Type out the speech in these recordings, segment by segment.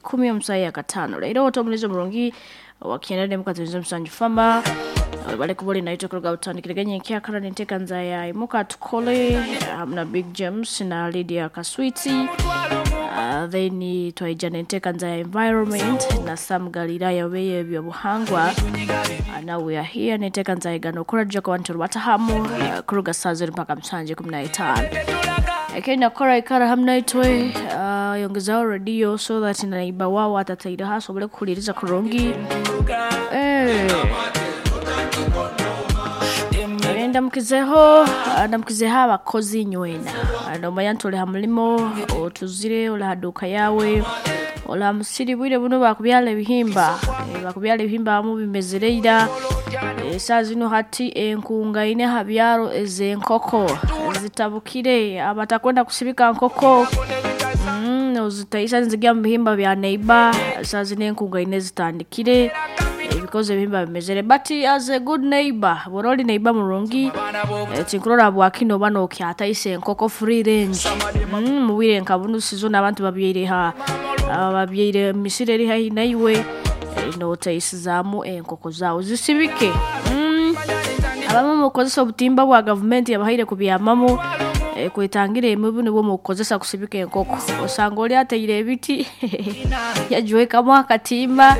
ikumi omusayi akatano leero otomulizo murungi wakienda ne musanju fama bali kubuli naitwe kuruga butandikiriganye nkyakara nentekanza ya imuka tukole hamna Big James na Lydia Kaswiti. Then twaija nentekanza ya environment na Sam Galilaya weye ebyobuhangwa. Now we are here nentekanza igano kuraja kwa bantu batahamu kuruga saa zero mpaka msanje 15 ekenda kora ikara hamwe naitwe, yongezaho radio so that naiba wao atataira hasobole kuhuliriza kurungi. Ndamukizeho, ndamukizeho abakozi nywena nomanya nti oli ha mulimo otuzire oli ha duka yawe oli ha musiri bwire buno bakubyala ebihimba, bakubyala ebihimba abamu bimezere ira. Saa zino hati enkunga ine ha byaro ez'enkoko zitabukire abatakwenda kusibika nkoko ozitaisa nizigya mu bihimba bya neighbor. Saa zino enkunga ine zitandikire because ebihimba bimezere, but as a good neighbor bw'oba oli neighbor murungi, tinkurora bwakino oba nokyataisa enkoko free range mubwire nka bunu season abantu babyaire ha babyaire emisiri eri haihi naiwe, notaisizaamu enkoko zaawe zisibike. Abamu mukukozesa obutimba bwa gavumenti yabahaire kubyamamu, kwetangira emibu nibwo mukukozesa kusibika enkoko. Osanga oli ataire ebiti yagiwekamu akatimba,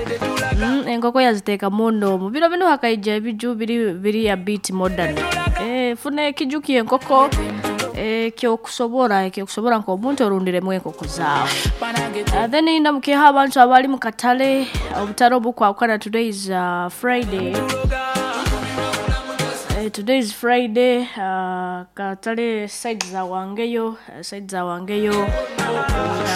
enkoko yaziteekamu noomu. Biro binu hakaija ebiju biri biri a bit modern. Funa ekiju ky'enkoko ekyokusobora ekyokusobora nk'omuntu orundiremu enkoko zaawe. Then ndamukireho abantu abali mu katale obutare obukwahukana. Today is Friday. Today is Friday. Katale side za Wangeyo, side za Wangeyo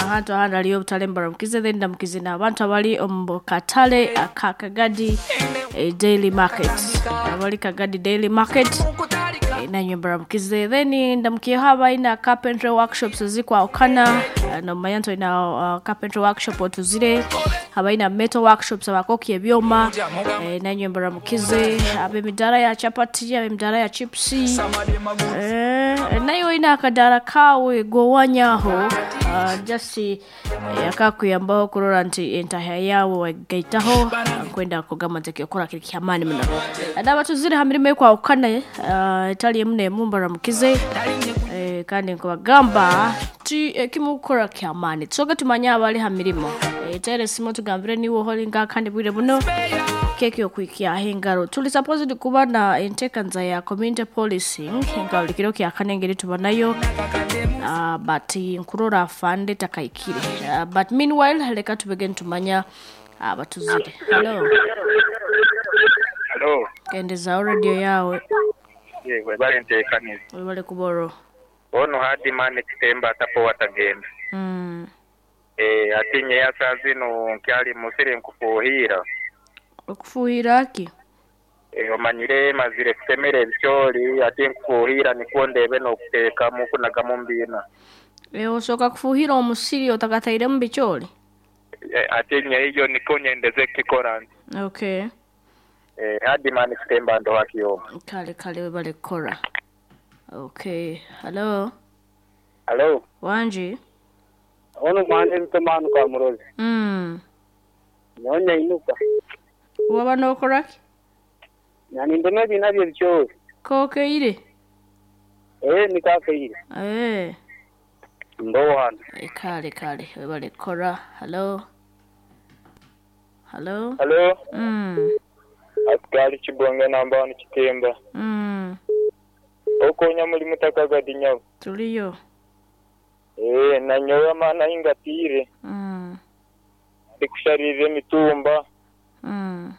ahantu ahandi hariyo obutare mbaramukize. Then ndamukize n'abantu abali omu katale aka Kagadi Daily Market, abali Kagadi Daily Market, nanywe mbaramukize. Then ndamukiyeho abalina carpentry workshops ezikwahukana. Nomanya nti olina carpentry workshop otuzire, abalina metal workshops abakokya ebyoma, nanywe mbaramukize. Ab'emidaara ya chapati, ab'emidaara ya chipsi, naye olina akadaara kaawe gowanyaho, just akakuyambaho kurora nti entahya yawe wagigaitaho. Nkwenda kugamba nti ekyokora kiri kyamaani muno. N'abatuzire ha mirimo ekwahukana etali emu n'emu mbaramukize, kandi nkubagamba nti ekimukukora kyamaani. Tusooke tumanye abali ha mirimo, teera esimu tugambire niwe ohori nga kandi bwire buno keki okwikyaho engaro. Tuli supposed kuba na entekanza ya community policing nka buli kiro kyakane engeri tuba nayo, but nkurora afande takaikire, but meanwhile leka tubege nitumanya abatuzire. Hello. Hello. Kendezaaho radio yawe. Ye, webale nteekaniza. Webale kuboro. Ono Hardman Kitemba atapo watagenda. Ati nyeya saa zino nkyali musiri nkufuuhiira. Okufuuhira ki? Omanyire mazire kutemera ebicooli ati nkufuuhiira nikwo ndeebe n'okuteekamu kunagamu mu biina. Osooka kufuuhira omusiri otakatairemu bicooli? Ati nyeiyo nikwo nyendeze kukikora nti. Okay. Hardman Kitemba ndoha Kiyombe. Kale kale webale kukora. Okay. Hello. Hello. Wangi. Ono mwanje Ntomanu Kamurozi. Nyowe nainuka. Waba n'okora ki? Nani ndema ebiina by'ebicooli. Kokeire? Nikakeire. Mbowana. Kale kale webale kukora. Hello. Hello. Hello. Asikali Kibonge namba wanu Kitemba. Okonya mulimu takagadi nyabo. Tuliyo. Nanyowe amaani ahi ngatiire. Ndikusharira emitumba.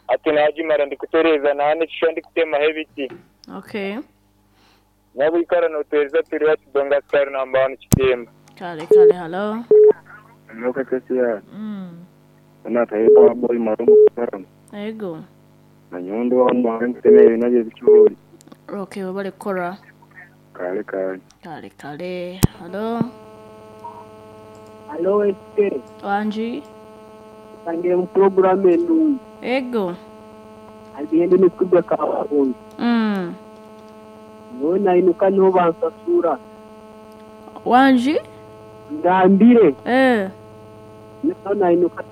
Ati nagimara ndikutereeza nahana ekishwa ndikutemaho ebiti. Okay. Nabwikara noteereza turi ha Kibonge asikali namba wanu Kitemba. Kale kale hello. Noka kesi Ona taifa boy marumu karam. Ego. Na nyondo wa mwange nkutemera ebina by'ebicooli. Okay, webale kukora. Kale kale. Kale kale. Hello. Hello, SK. Wangi. Tangire mu program enu. Ego. Agende nikubya kabakunzi. Nyowe nainuka niho bansasura. Wangi? Ngambire. Niho nainuka.